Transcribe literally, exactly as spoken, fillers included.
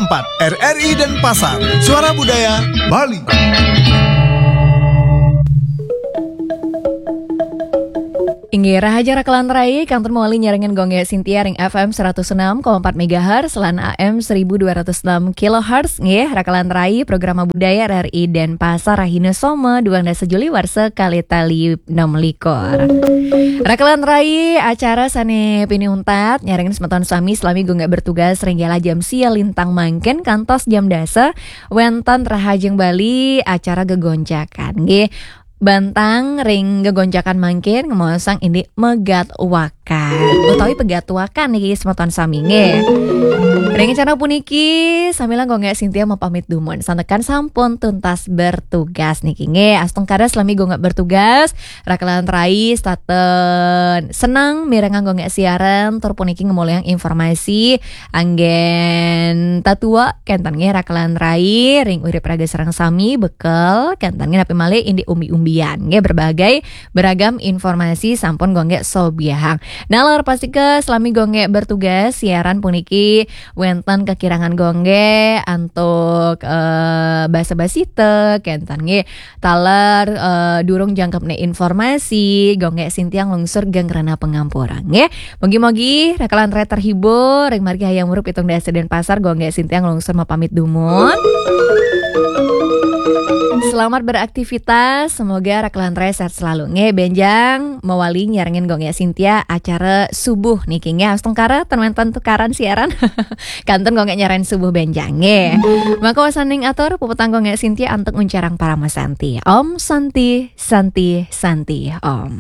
empat R R I Denpasar, Suara Budaya Bali. Inggih, rahajeng rakelan rai, kantun mawali nyarengin Gung Gé Sintia ring F M seratus enam koma empat megahertz lan A M seribu dua ratus enam kilohertz, nggih, rakelan rai, Programa Budaya R R I Denpasar, rahina Soma, duang dasa Juli warsa kalih tali enam likur. Rakelan rai, acara sané pinih untat, nyarengin semeton sami salami Gung Gé bertugas ring galah jam sia lintang mangkin kantos jam dasa, wénten Rahajeng Bali, acara gegonjakan, nggih. Bantang ring gegonjakan mangkin ngemaosang indik megatwakan utawi pegatuakan niki semeton sami, nggih. Ring acara puniki, sambilang Gung Gé Sintia mapamit dumun. Santukan sampun tuntas bertugas niki, nggih. Astungkara salami Gung Gé bertugas, rakelan rai setata seneng mirengang Gung Gé siaran, tur puniki ngemolihang informasi anggén tatua, kénten nggih, rakelan rai, ring urip raga sareng sami, bekel, kénten nggih, napi malih indik umbi-umbian, nggih, berbagai beragam informasi sampun Gung Gé sobiahang. Nalar pastika salami Gung Gé bertugas, siaran puniki wénten kakirangan Gung Gé antuk, eh, basa-basita, kénten nggih, taler, eh, durung jangkepné informasi, Gung Gé Sintia nglungsur geng rena pangampura, nggih. Mugi-mugi rakelan rai terhibur, ring margi Hayam Wuruk pitung dasa Denpasar, Gung Gé Sintia nglungsur mapamit dumun. Selamat beraktivitas, semoga rakelan rai sehat selalu, nggih. Bénjang mawali nyarengin Gung Gé Sintia acara subuh niki, nggih. Astungkara ten wénten tukaran siaran. Kantun Gung Gé nyarengin subuh bénjang, nggih. Maka wasaning atur, puputang Gung Gé Sintia antuk nguncarang parama santi. Om Santi, Santi, Santi, Om.